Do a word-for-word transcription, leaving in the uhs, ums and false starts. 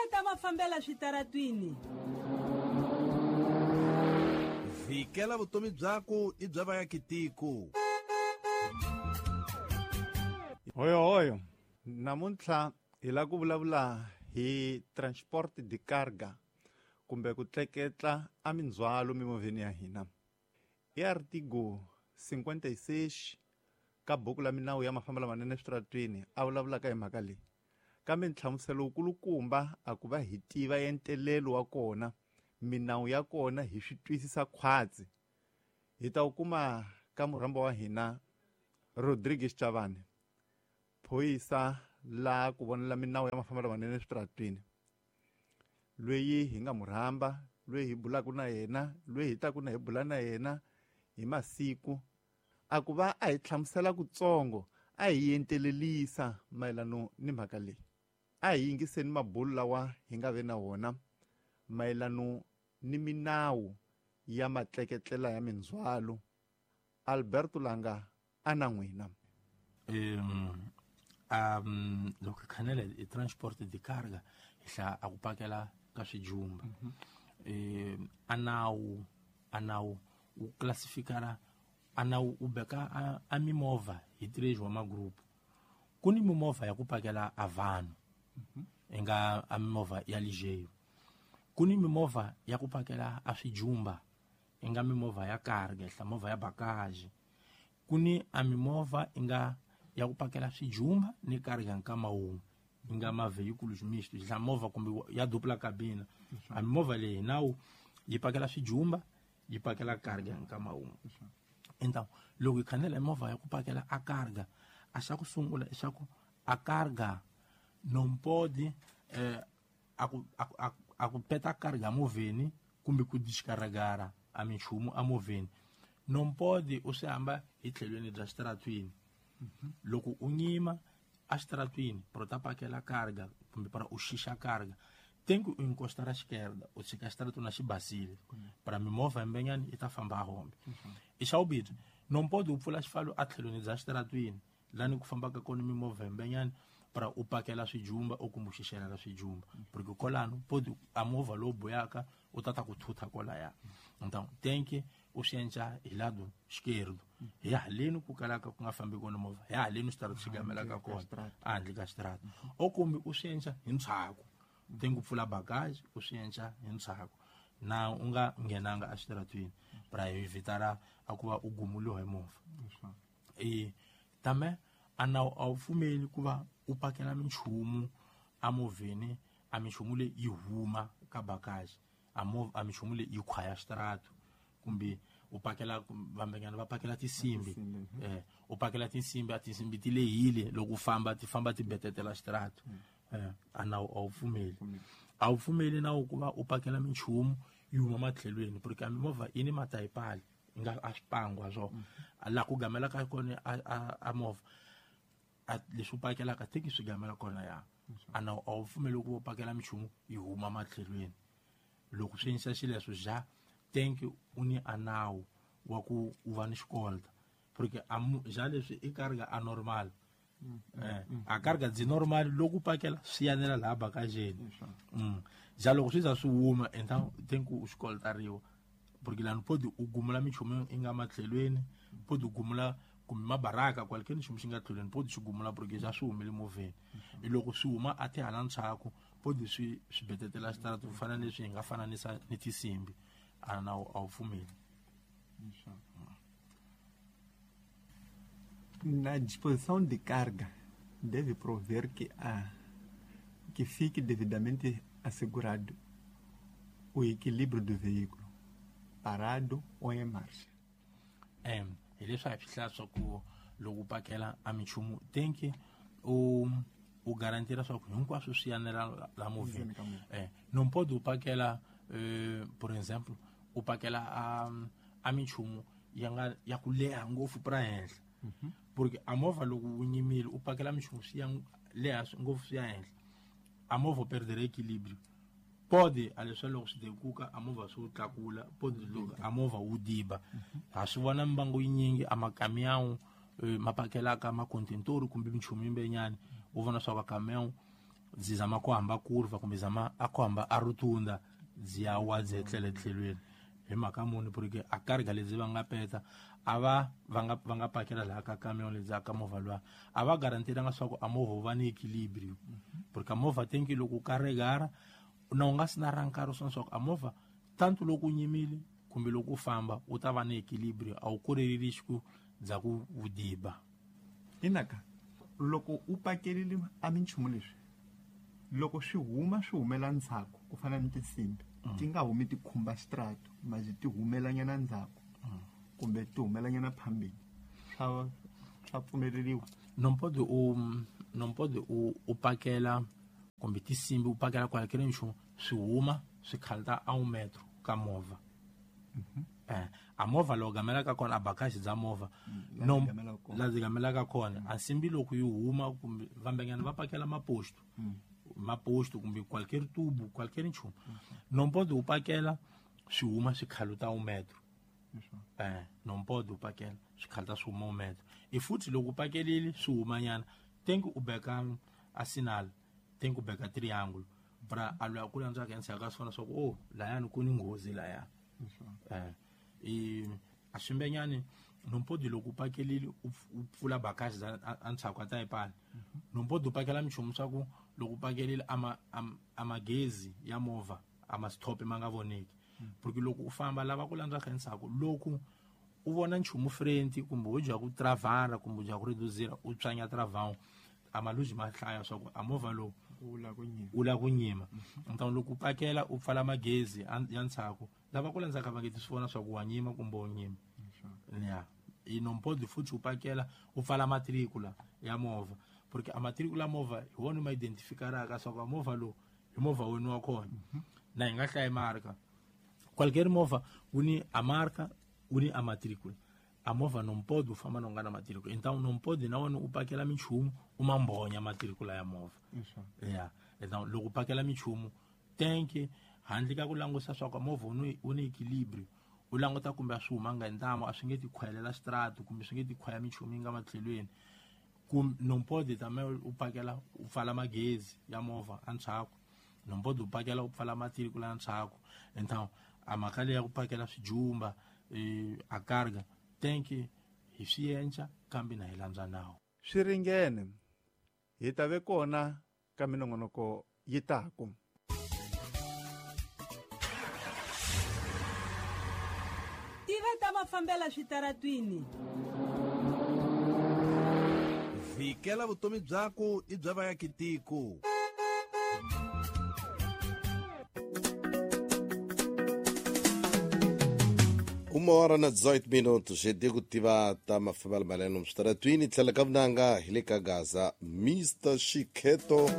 ta mafambela switaratwini. Vikela vutomi byako i bya vaakatiko. Hoyo hoyo, namuntlha hi lava ku vulavula hi transport de carga kumbe ku tleketla a mindzhwalo mimovheni ya hina. I artigo cinquenta e seis ka buku la minawu ya mafambelo lamanene eswitaratwini a vulavulaka hi mhaka leyi. Kambe nhlamuselo wukulukumba a ku va hi tiva entelelo wa kona, minawu ya kona hi swi twisisa khwatsi. Hi ta wu kuma ka murhamba wa hina Rodrigues Chavani, phorisa la ku vonela minawu ya mafambelo lamanene eswitaratwini, loyi hi nga murhamba, loyi hi bulaka na yena, loyi hi taku na hi bula na yena hi masiku, a ku va a hi hlamusela kutsongo, a hi entelelisa mayelano ni mhaka leyi. A hi yingiseni mabulu lawa hi nga ve na wona mayelano ni minawu ya matleketlela ya mindzhwalo. Alberto Langa a na n'wina. Um, um, loko khanele i transport de carga hi hlaya a ku pakela ka swijumba. Eh, a nawu a nawu wu classificara a nawu u beka a, a mimovha hi três wa magrupu. Ku ni mimovha ya ku pakela a vanhu, i nga a mimovha ya ligeiro. Ku ni mimovha ya ku pakela a swijumba, i nga mimovha ya carga, hla movha ya bagage. Ku ni a mimovha i nga ya ku pakela swijumba ni carga nkama wun'we, i nga ma veículos mistos, hla movha kumbe ya dupla cabina. A mimovha leyi nawu yi pakela swijumba, yi pakela carga nkama wun'we. Então, loko hi khanela movha ya ku pakela a carga, a xa ku sungula i xa ku a carga não pode eh, a ku, a, a, a ku peta carga movheni kumbe ku descarregar a minchumu a movheni. Não pode u swi hamba hi tlhelweni bya xitaratwini. Loko u nyima a xitaratwini para u ta pakela carga kumbe para u xixa carga, tem que u encostar à esquerda, u tshika xitaratwini a xi basile para mimovha yimbenyani yi ta famba a hombe. I xa vumbirhi, não pode u pfula xifalo a tlhelweni bya xitaratwini lani ku fambaka kona mimovha yimbenyani para u pakela swijumba u kumbe u xixela swijumba, porque kolano pode a movha lowu buyaka u ta ta ku thutha kolaya. Então tem que u swi endla hi lado esquerdo, hi haleni ku kalaka ku nga fambi kona movha, hi haleni xitarato xi gamelaka kona ehandle ka xitarato, o kumbe u swi endla hi ndzhaku. Tem ku pfula bagage u swi endla hi ndzhaku na u nga nghenanga exitaratwini para evitar a ku va u gumuliwa hi movha. E também a nawu a wu pfumeli ku va u pakela minchumu emovheni, a minchumu leyi yi huma ka bagage, a movha a minchumu leyi yi khwaya xitarato, kumbe u pakela vambenyana va pakela tinsimbi, eh u pakela tinsimbi, a tinsimbi ti lehile loko u famba ti famba ti betetela xitarato. Eh, a nawu a wu pfumeli. A wu pfumeli nawu ku va u pakela minchumu yi huma matlhelweni, porque a mimovha yi ni matayipali yi nga a swipangwa swo laha ku gamelaka kona a, a, a movha a leswi u pakelaka teki swi gamela kona ya. A nawu a wu pfumeli ku va u pakela minchumu yi huma matlhelweni. Loko swi endlisa xileswo ja tenki u ni a nawu wa ku u va ni xikolta, porque a ja leswi i carga a normal. Eh, a carga dzi normal loko u pakela swi yanela laha bagageni. Mm. Ja loko swi za swi huma então tem ku u xikoltariwa, porque lani pode u gumula minchumu yi nga matlhelweni, pode u gumula kumbe mabaraka qualquer nchumu xi nga tlhelweni pode xi gumula, porque ja swi humile movheni. I loko swi huma a ti hala ndzhaku pode swi swi betetela xitarato ku fana leswi hi nga fananisa ni tinsimbi. A nawu a wu pfumeli. Na disposição de carga deve prover que a que fique devidamente assegurado o equilíbrio do veículo, parado ou em marcha. É, hi leswi a hi swi hlaya swa ku loko u pakela a minchumu tem que u u garantira swa ku hinkwaswo swi yanela la movheni. Eh, não pode u pakela eh, por exemplo, u pakela a a minchumu ya nga ya ku leha ngopfu pra henhla. Porque a movha loko wu nyimile u pakela minchumu swi ya leha ngopfu swi ya henhla, a movha perder equilíbrio. Pode a leswi loko swi dekuka a movha swi wu tlakula, pode loko a movha wu diba. Ha swi vona mimbangu yinyingi a makamiyawu ma pakelaka makontentori kumbe minchumu yimbenyani, u vona swa ku kamiyawu byi zama ku hamba kurva kumbe zama a ku hamba a rotunda byi ya wa byi etlele tlhelweni hi mhaka muni porque a carga lebyi va nga peta a va va nga va nga pakela laha ka camion lebyi ka movha luwa a va garantiranga swa ku a movha wu va ni equilibrio porque a movha tenki loko u carregara na u nga si na ra nkarhi swa swa ku a movha tanto loko u nyimile kumbe loko u famba u ta va ni equilibrio a wu koreli xiku bya ku vudiba inaka loko u pakerile a minchumu leswi loko swi huma swi humela ndzhaku ku fana ni tinsimbi ti nga humi ti khumba xitrato maji ti humelanyana ndzhaku kumbe ti humelanyana phambili swa swa pfumeleriwa non pode u non pode u u pakela kumbe tinsimbi u pakela kwala kile nchumu swi huma swi khalta a un metro ka movha eh a movha loko gamelaka kona a bakashi bya movha no la byi gamelaka kona a nsimbi loko yi huma kumbe vambenyana va pakela maposto maposto kumbe qualquer tubo qualquer nchumu non pode u pakela swi huma swi khaluta un metro eh non pode u pakela swi khaluta swi huma un metro e futhi loko u pakelile swi humanyana tenki u beka a sinal tenki u beka triangle pra a lwa ku landzaka endzhaku ka swona swa ku oh layani ku ni nghozi laya eh e a swimbenyani non pode loko u pakelile u pfula bakashi za endzhaku a ta ipala non pode u pakela minchumu swa ku loko u pakelile ama amagezi ya movha ama stop ma nga voneki porque loko u famba lava ku landzaka endzhaku loko u vona nchumu frente kumbe u dya ku travara kumbe u dya ku reduzira u tswanya travau amaluji ma hlaya swa ku a movha lowu u la ku nyima então loko u pakela u pfala magezi ya ndzhaku lava ku landzaka va nge ti swi vona swa ku wa nyima kumbe u nyima ya i non pode futhi u pakela u pfala matricula ya movha porque a matricula movha hi wona ma identificaraka swa ku a movha lowu hi movha wena wa kona na hi nga hlayi marka qualquer movha wu ni a marka wu ni a matricula a movha non pode u famba na u nga na matricula então non pode na wena u pakela minchumu u ma mbhonya matricula ya movha ya então loko u pakela minchumu tenke handle ka ku langusa swa ku movha wu ni wu ni equilibrio u languta kumbe a swi humanga hi ntamu a swi nge ti khwayelela xitrato kumbe swi nge ti khwaya minchumu yi nga matlhelweni kumbe non pode tame u pakela u pfala magezi ya movha endzhaku non pode u pakela u pfala matricula endzhaku então a mhaka leyi ya ku pakela swijumba a carga tenki hi swi endla kambe na hi landza nawu swi ringene hi ta ve kona ka minongonoko yi taku tiva ta mafambela switaratwini vikela vutomi byaku i bya vayakitiko Uma hora na dezoito minutos, eu digo tiva ta mafambela maleno mstratwini tlhela ka vunanga hi le ka Gaza Mister Shiketo.